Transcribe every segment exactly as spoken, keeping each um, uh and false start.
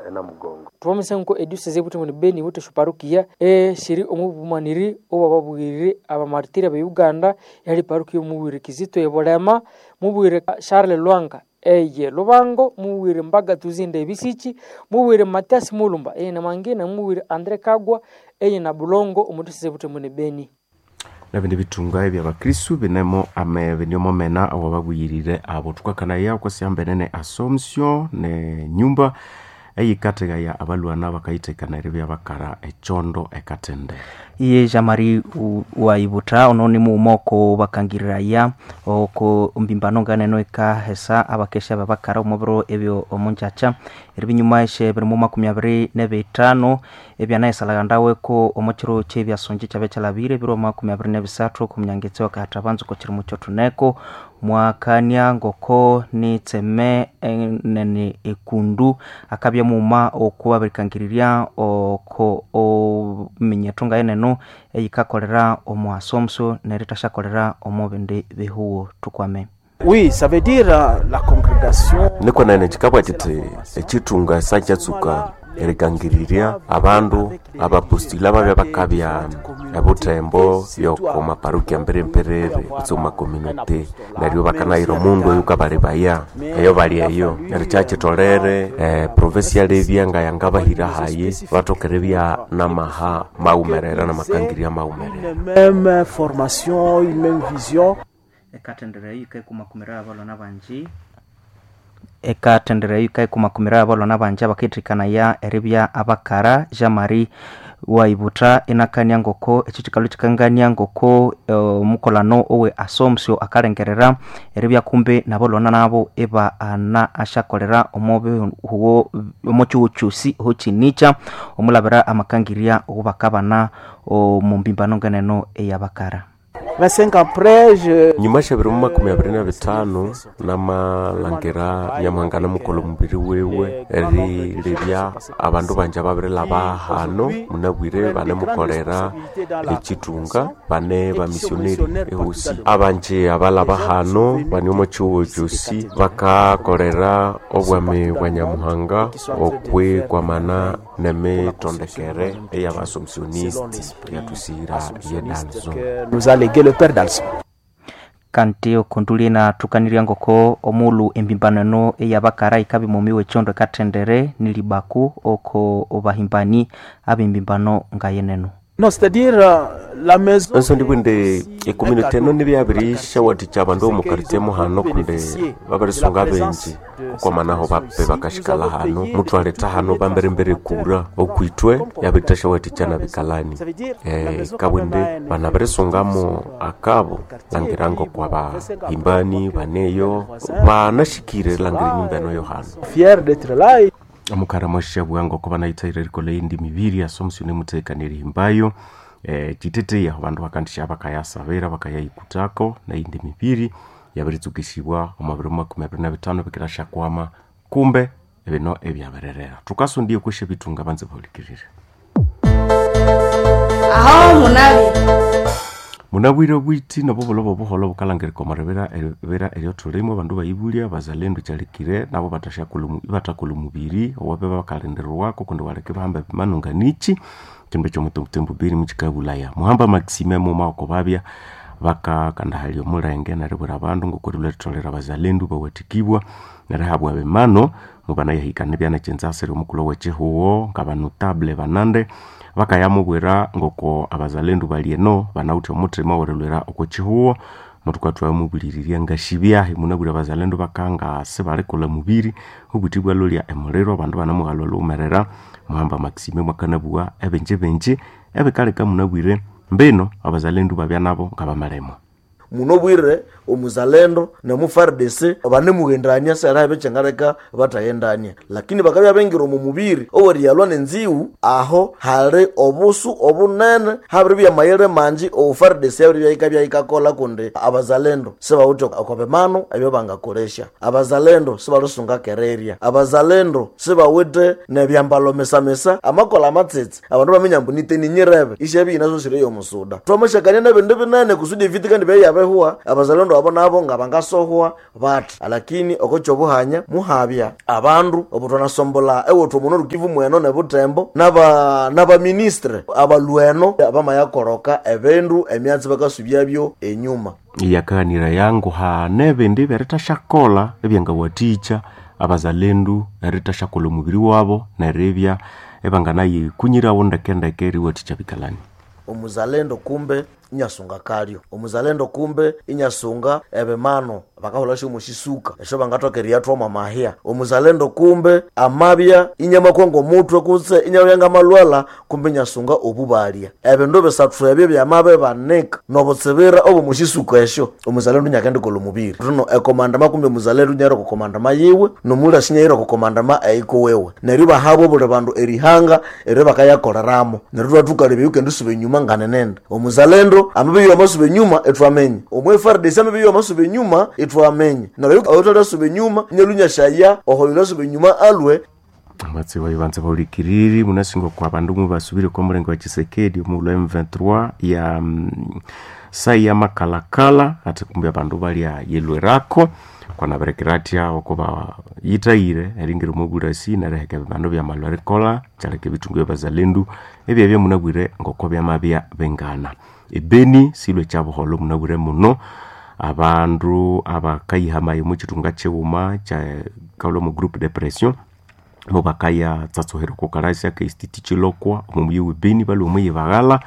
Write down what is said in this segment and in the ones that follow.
enamugongo. Twamisanko ediocese ebutembo Beni iwithe esyoparukiya esiri omu bumaniri obwababwirire abamartiri abe Uganda yali parukiya omubwire Kizito ebulema, mubwire Charles Lwanga eye Lubango, mubwire Mbaga Tuzinde ebisichi, mubwire Mathias Mulumba eye Namangina, mubwire Andre Kagwa eye Nabulongo omu diocese ebutembo Beni. Nabindi bitunga ebyabakristu binemo ame biniomo mena awababuyirire abo tukakanaya okwasihambenene Assumption ne nyumba eyikathekaya abalwana bakayithekanira ebyabakara echondo ekatende. Iye Jean-Marie Waibutha ono ni mughuma oko bakangiriraya oko mbimbano nganeno ekahesa abakesha babakara omu biro ebyo omunjakya eribinyuma esye biri mu makumi abiri nebithano ebyanayisalaghandaweko omu kiro kyebyasongi kyabya kyalhabire ebiro makumi abiri nebisathu oko munyangitsi wakahata banza oko kirimo kyothuneko mwakania ngoko nitseme enene ekundu akabya mughuma oku babirikangirirya oko ominyetho ngayeneno eyikakolera omu asomso nerithasyakolera omu bindi bihuwo. Tukwame. Oui, ça veut dire la congrégation. Nikwenene kikabwa kiti ekithunga sakyatsuka erikangirirya abandu abapostili ababya bakabya ebutembo byoko maparukia mbirembirere kutse omu makomunite neryo bakanayira omundu oyu kabalebaya eyo bali eyo neryo kyakyitolere eh, provinsi yalebya nga yangabahira hayi bathoka eribya namaha mawumerera namakangirya mawumerera. Une même formation, une même vision. Ekathendera eyo yikaikumakumira abalwana bangi ekathendera eyo yikaikumakumira abalwana bangi abakayithikanaya eribya abakara. Jean-Marie Waibutha inakania ngoko ekyo kikalhu kikangania ngoko omukolano owe Assumption akalengerera eribya kumbi nabalwana nabo iba ana asyakolera omu bihuwo omu kihugho kyosi hokinikya omulabira amakangirya owubakabana omu mbimbano ngeneno eyabakara. vingt-cinq après je nyuma syabiri mu makumi abiri na bithanu namalhangira Nyamuhanga namukolha omubiri wiwe erilebya abandu bangi ababirilhaba hano munabwire banemukolera ekithunga bane bamissionary ehosi abangi abalhaba hano bane omu kihugho kyosi bakakolera obwami bwa Nyamuhanga okwikwamana nemitondekere ey'abasomsionist yathusihira ye Dalzo. Nous a légué le père Dalson. Kanti okundu inathukanirya ngoko omulhu embimbano eno eyabakara yikabya mumi w'ekyondo ekathendere nilibaku oko bahimbani ab'embimbano ngayeneno. Non, c'est-à-dire la maison. Enso ndibwinde ecommunity eno nibyabirisyawathikya abandu omu quartier muhano kundi babirisunga abenji okwamanaho bape bakashikala hano muthwaletha hano bamberimbere kura okwithwe yabirithasyawathikya nabikalani eh, kabwinde banabirisungamu akabo langira ngokwa bahimbani baneyo banashikire langira enyumba eno yo hano. Fier d'être là. Omukara mwashabwa ngoko banayithaire erikolha eyindi mibiri Assumption emuthekania erihimbayo eh, kyiteteya abandu bakandisya bakayasabira bakayayikutako neyindi mibiri yabiritsukisibwa omu biro makumi abiri na bithano bikirasyakwama kumbe ebino ebyabirerera thukasondiye okwesya ebithunga banze bahulikirire. Aho munabi Munabwire obwiti nobubulo obuholho bukalangirika omu ribira eribira eryothulimo abandu bayibulya bazalendu kyalikire nabo ibathakolha omubiri owabe bakalindirirwako kundi waleka ibahamba ebimanu nganichi kindu ekyomutembutembu biri mukikabulaya muhamba Maxime muma oko babya bakakandahalya omulenge neribwira abandu ngokurilwa eritholera abazalendu bawathikibwa nerihabwa ebimano mubanayahikana ebyanakyenzasire omukulhu owekyihuwo ngabanotable banande bakayamubwira ngoko abazalendu bali eno banawithe omuthima owerilwira oko kyihuwo muthukathuwa mubulirirya ngasibyahi munabwire abazalendu bakanga sibalikolha mubiri obuthi bwalolya emuliro abandu banamughalha olhughumerera. Muhamba Maxime mwakanabuwa ebingi bingi ebikaleka munabwire mbino abazalendu babya nabo ngabamalemo. Munobwire omuzalendo nemu F A R D C banemughendania sera ebichengaleka bataghendania, lakini bakabya bengira omu mubiri oweriyalwa nenziwu aho hali obusu obunene habiri byamayere manji o F A R D C habiri byahika byahikakola kundi abazalendo sibawithe oko bimano ebyo bangakolesya, abazalendo sibalusunga kereria, abazalendo sibawithe nebyambalo mesamesa amakola amatsitsi abandu baminya mbu niteni nyirebe isyabi inaso siriyo omusuda twamashakania nebindu binene kusudi evita kandi byayabe byamabihwa abazalendo abo nabo nga bangasohwa bati alakini okokyobuhanya muhabya abandu obutwanasombola ewethu omuno Rukivu mweno nebutembo naba nabaministre abalweno abamayakoroka ebindu emyatsi bakasubyabyo enyuma Yakaganira yangu hane ebindi byeritasyakolha ebyangawathikya abazalendu eritasyakolha omubiri wabo neribya ebanganayikunyirawo ndekendeke eriwathikya bikalani. Omuzalendo kumbe inyasunga kalyo, omuzalendo kumbe inyasunga ebimano bakahola sho mushisuka esho bangathoka eriyathwamo amahya. Omuzalendo kumbe amabya inyamakongo omutwe kutse inyabya ngamalwala kumbe inyasunga obubalya. Ebindu bisathu ebyo byamabe banika nobutsibira obomushisuka esyo omuzalendo inyakendikolha omubiri. Rino ekomandama kumbe omuzalendo inyayira okukomandama yiwe nomulasi inyayira okukomandama eiko wewe. Neryo bahabwa obuli bandu erihanga eryo bakayakoleramo. Neryo thwathukalebya yukendisuba enyuma nganenenda. Omuzalendo amabiyo amasuba enyuma etwamenye. Omu F R D C amabiyo amasuba enyuma etwamenye. Neryo oyothalasuba enyuma inyalunyashaya ohoyolasuba enyuma alwe. Amatsi wayibanza baulikiriri munasinga kwa bandu mubasubire kwa mulengo wa Tshisekedi omu M twenty-three ya mm, sai ya makalakala ati kumbe abandu balya yelwerako kwanaberekeratya okuba yitayire eringira omubulasi neriheka ebibandu byamalwa erikola kyaleka ebitungu byabazalendu ebyabya munabwire ngoko byamabya bengana. Ebeni silwe kyabuholho munabwire muno abandu abakayihamayo mukitunga kyighuma kya kalwa mu groupe de pression mubakaya tsatsohera okukalasya ka institute Chilokwa omu muyi w'Ebeni balwa omuyi baghala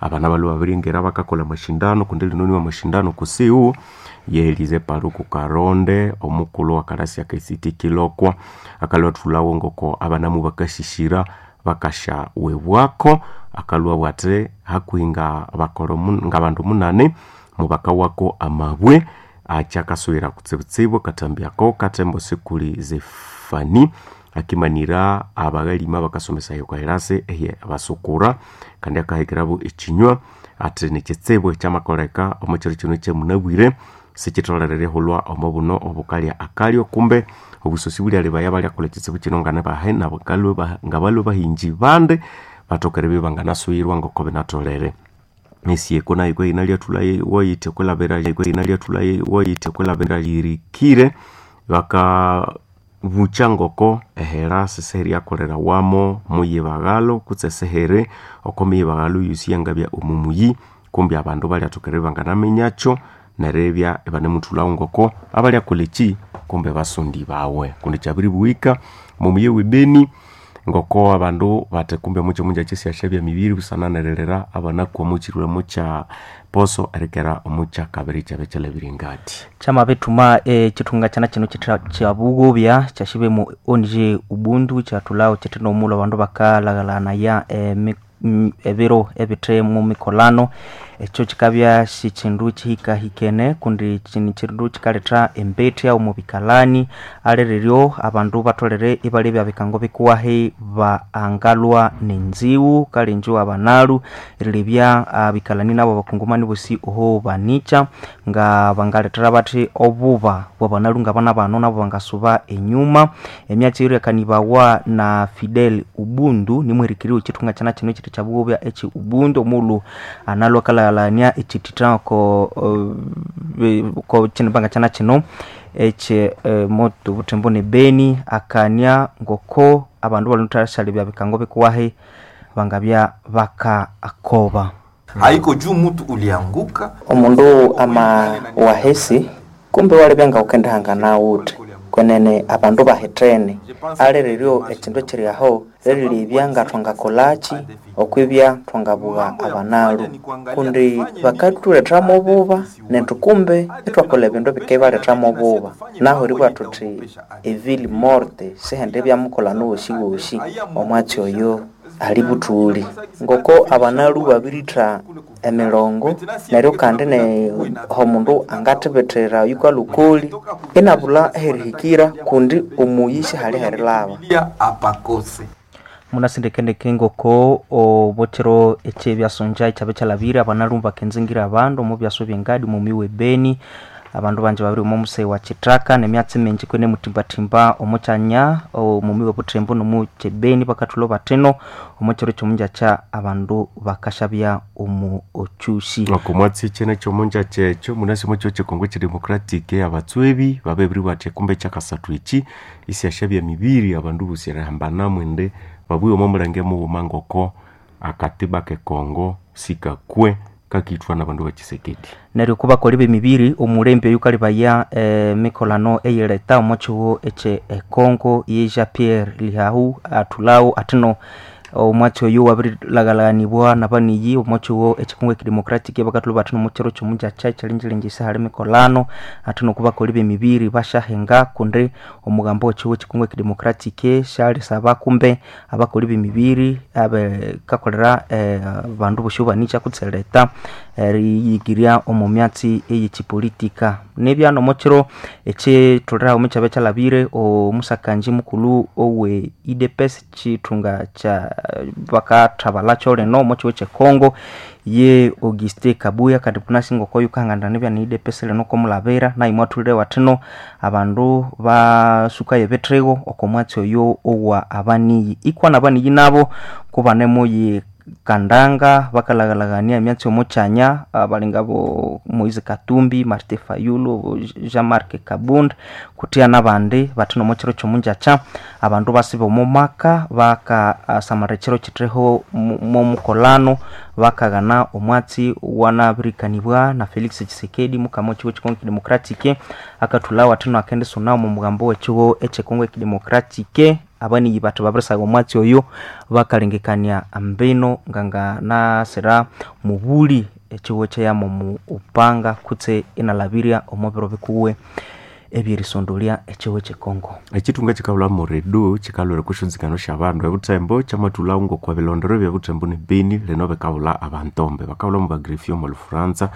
abana balwa babiringira bakakolha amashindano kundi lino niwa amashindano kusiu yehelize Paluku Karonde omukulhu wa kalasya ka institute Chilokwa akalwa thulawo ngoko abana mubakasishira bakasha webwako akalwa bwate hakuhi nga bakolo nga bandu munane mubakawako amabwe akyakaswera kutsibutsibu katambyako katembo sikuli zefani akimanira abagalima bakasomesa yokairase ehe basukura kandi akahekerabu ekinywa ati nekitsibu ekyamakoleka omukiro kino kyemunabwire sikitholerere hulwa omubuno obukalya akalyo kumbe obusosi bulyalibaya balyakolha ekitsibu kino nganabahe ngabalwe bahinji bande batokere bibanganasuyirwa ngoko binatholere. Esieko nayo kweyina lyathula wayithe kwelabira kweyina lyathula wayithe kwelabira lirikire baka bucha ngoko ehera seseheri yakolera wamo muyibaghalo kutse sehere oko miyibaghalo yosi yangabya omumuyi kumbi abandu balyathokere banganaminyakyo nerebya ibanemuthulhawo ngoko abalyakolha eki kumbe basundi bawe kundi kyabiribuhika mumuyi w'Ebeni ngoko abandu bate kumbe mukyo munjakyi syasyabya mibiri busana nerilira abanaku omukyirwemo kya poso erikera omukya kabiri kyabe kyalabire ngati Kyamabithuma ekithunga kyana kino kyabugobya kyashibe mu O N G Ubuntu kyathulhawo kyithe nomulo abandu bakalaghalanaya ebiro ebithe mu mikolano. Ekyo kikabya sikindu kihikahikene kundi kini kindu kikaletha embethya omu bikalani alireryo abandu batholere ibalebya bikango bikuwahi baangalwa nenziwu kalenjo abanalu erilebya abikalani nabo bakungumani bosi oho banikya nga bangalethera bathi obuba bwabanalu ngabana bano nabo bangasuba enyuma. Emyatsi iryakanibawa na Fidel Ubuntu nimwirikiriwe ekithunga kyana kino ekiti kyabugobya eki Ubuntu omulhu analwa kalaghalania ekithitha ko uh, ko kinibanga kyana kino ekye uh, moto butembo ne Beni akania ngoko abandu baluthasyalebya bikango bikuwahi bangabya baka akoba haiko juu mutu ulianguka omundu ama wahesi kumbe walebya nga ukendihanga nawuthe kwenene abandu bahithene alireryo ekindu ekiri aho lirilebya nga thwangakolaki okwibya thwangabugha abanalu kundi bakathulethamu obuba nethu kumbe ithwakolha ebindu ebikaibalethamu obuba naho eribugha thuthi evile morte sihende ebyamukolha nowosiwosi omwatsi oyo ali buthuli ngoko abanalu babiritha emirongo neryo kandi ne omundu angathibithira yukalukoli inabulha eherihikira kundi omuyi sihali herilaba apakose munasindekendeke ngoko obukiro ekyebyasonja ekyabe kyalabire abanalu bakenzingira abandu omu byaso byengadi mumi w'Ebeni Abandu banje babiri omo musei wa Chitraka nemyatsi mingi kwene mutimbatimba omukyanya omumi w'obuthembo nomukyebeni bakathulha batino omukyiro ky'omunjakya abandu bakashabya omu ochushi. Okomwatsi kyene kyomunjakya ekyo munasi omukyo kyekongo kyedemocratic abatswebi babebiri batya kumbe kyakasathu eki isyashabya mibiri abandu bosi erihambanamu indi babughe omo mulenge mughuma ngoko akatiba kekongo sikakwe kakithwa nabandu ba Tshisekedi. Neryo kubakoli b'emibiri omulembe oyu kalibaya emikolano eyileta omo kihugho ekye econgo ye Jean Pierre Lihau athulawo athino omwatsi oyu wabirilagalaganibwa nabaniyi omo kihugho ekyekongo ekidemocratic bakathulha bathino omo kiro ky'omunjakya ekyalingiringisa hali emikolano athino kubakoli b'emibiri basyahenga kundi omugambo w'ekihugho ekyekongo ekidemocratic syalisaba kumbe abakoli b'emibiri abekakolera eh, bandu bosi banikya kutseleta eriyigirya omu myatsi eyekipolitika. Nebyano omo kiro ekyitholere omu kyabya kyalabire omusakanji mukulhu owe U D P S kithunga kya bakathabalakyo lino omo kihugho ekye Congo ye Auguste Kabuya kandi punasi ngoko yukahangana nibya ni U D P S lino komulabira naye mwathulire wathino abandu basukayo ebithigo oko mwatsi oyo owa abaniyi ikwa nabaniyi nabo kubanemuyi kandanga bakalaghalagania emyatsi omo kyanya abalinga bo Moise Katumbi, Martin Fayulu, Jean-Marc Kabund kuthia nabandi bathino omo kiro ky'omunjakya abandu basiba omo maka bakasamara ekiro kitheho momukolano bakaghana omwatsi wanabirikanibwa na Felix Tshisekedi mukama w'ekihugho ekyekongo ekidemocratic akathulhawo athino akendisuna omu mugambo w'ekihugho ekyekongo ekidemocratic. Abaniyi bathi babirisaga omwatsi oyo bakalengekania mbino nganganasira mubuli ekihugho kyeyama omu upanga kutse inalabirya omu biro bikuwe ebyerisondolya ekihugho ekyekongo. Ekithunga kikabulha muredu kikalwera okusyonzikano syabandu ebuthembo kyamathulhawo ngokwa bilondero ebyebuthembo ne Beni lino bikabulha abantombe bakabulha mu bagrefi omu Lufuranza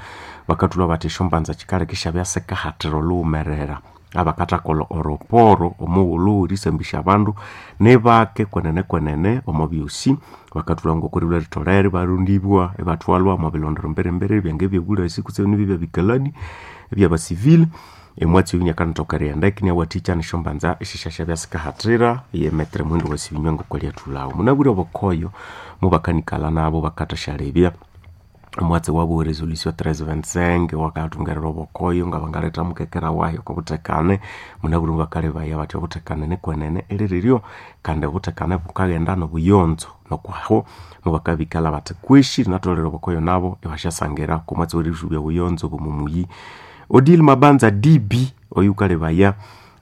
bakathulha bathi esyombanza kikaleka isyabya sikahathira olhughumerera abakathakolha oroporo omughulhu erisambisya abandu nibake kwenene kwenene omo byosi bakathulha ngoko erilhwa eritholere ibarondibwa ibathwalwa omo bilondero mbere-mbere ebyange ebyobulasi kutse nibyo ebyabikalani ebyabasivile. Emwatsi oyu niakanathoka erighenda iniawathikya nesyombanza esisyasyabya sikahathira ye metre muhindo wasibinywa ngoko lyathulhawo. Munabwire obukoyo mubakanikalha nabo bakathasyalebya omwatsi wabu resolution treize vingt-cinq wakathungerera obukoyo ngabangaletha mukekera wayi okobuthekane. Munabwire mubakalebaya bathi obuthekane nikwenene iliriryo kandi obuthekane bukaghenda nobuyonzo nokwaho mubakabikalha bathi kweshi rinatholere obukoyo nabo ibasyasangira okomwatsi werihubya obuyonzo bwomumuyi. Odile Mabanza D B oyukalebaya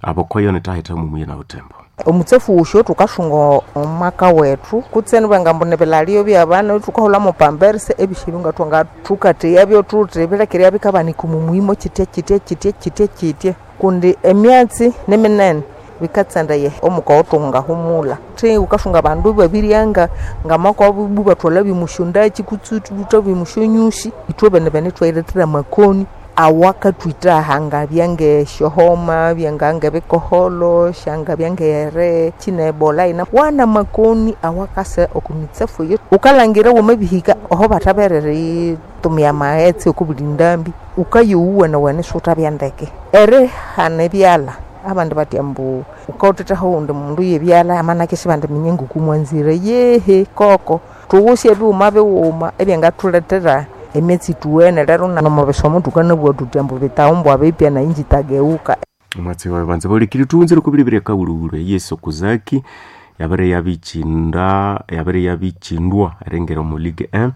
abokoyo nithahitha mumuyi na Butembo. Omutsafu wusyo thukasunga omwaka wethu kutse nibangambu nibilalio byabana thukaholamo pamperse ebishibi nga thwangathukatheyabyo thuthi bilekere bikabanika omumuhimo kitya kitya kitya kitya kitya kundi emyatsi niminene bikatsandaya omukawo thungahumula thi wukasunga abandu babiryanga ngamakwabo bu bathwalha bimusyondaki kutse thutha bimusyonyusi ithwe bene bene thwairethera amakoni awakathwithaha ngabya ngesyohoma byangangebikoholo syangabya ngere kinebola ina wana makoni awakasa okumitsafu eyo wukalhangira wamabihika oho bathaberere tumia amaghetse okubuli ndambi wukayowuwa nawane siwuthabya ndeke erihana ebyalha abandi bathi ambu wukawuthethaho owundi mundu yebyalha amanake sibandiminya ngokumwanzire yehe koko thuwusye ebighuma bighuma ebyangathulethera emyatsi ithuwene lero nomubisomo thukanabugha thuthi ambu bitawumbwa bipya nayi ngitageuka. Omwatsi wayi banza bahulikiri thughunzire okubiribirya akawulhuwulhu Yesu Kuzaki yabere yabikinda yabere yabikyindwa eringira omu Ligue un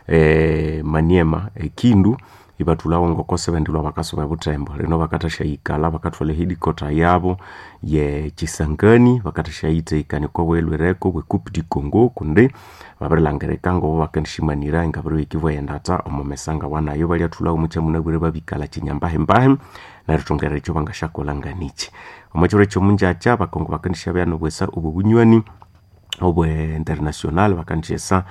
eh, Maniema ekindu ibathulhawo ngoko sibendilhwa bakasuba ebuthembo lino bakathasyaikalha bakathwalha ehidikota yabo ye Kisangani bakathasyayithekania okwa bwelhwereko bwe Coupe du Congo kundi babirilhangirika ngobo bakendishimanira ngabiribikibwa endatha omo mesanga wanayo balyathulhawo mukyamunabwire babikalha kinyambahembahe nerithungerera ekyo bangasyakolha nganichi. Omo kiro ekyomunjakya abakongo bakendisyabya nobwesa obwobunywani obwe international bakandisyesa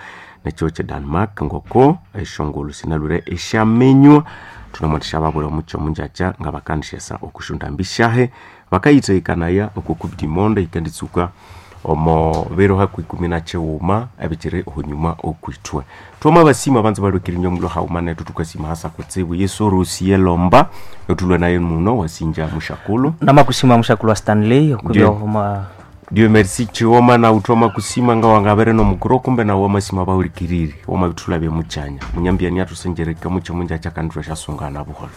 nekyo kye Denmark ngoko esyongulhu sinalhwire esyaminywa thunamuwathikya babulha omukyo omunjakya nga bakandisyesa okusyondambi syahe bakayithekakanaya oko Coupe du Monde yikenditsuka Omo biro haku ikumi na chiwuma ebikiri hunyuma okwitwe. Twoma basima banza balwekirinywa mulo hauma netu tukasima hasa kutsibu Yesu rusiye lomba otulwe naye muno wasinja mushakulu. Namakusima mushakulu wa Stanley okubya Ndiyo. oma Dieu merci chiwoma na utoma kusima nga wangabere no mukuro kumbe na wamasima baulikiriri wama bitula bya muchanya munyambiani atusenjereka mucho munja chakandwa shasungana buholo.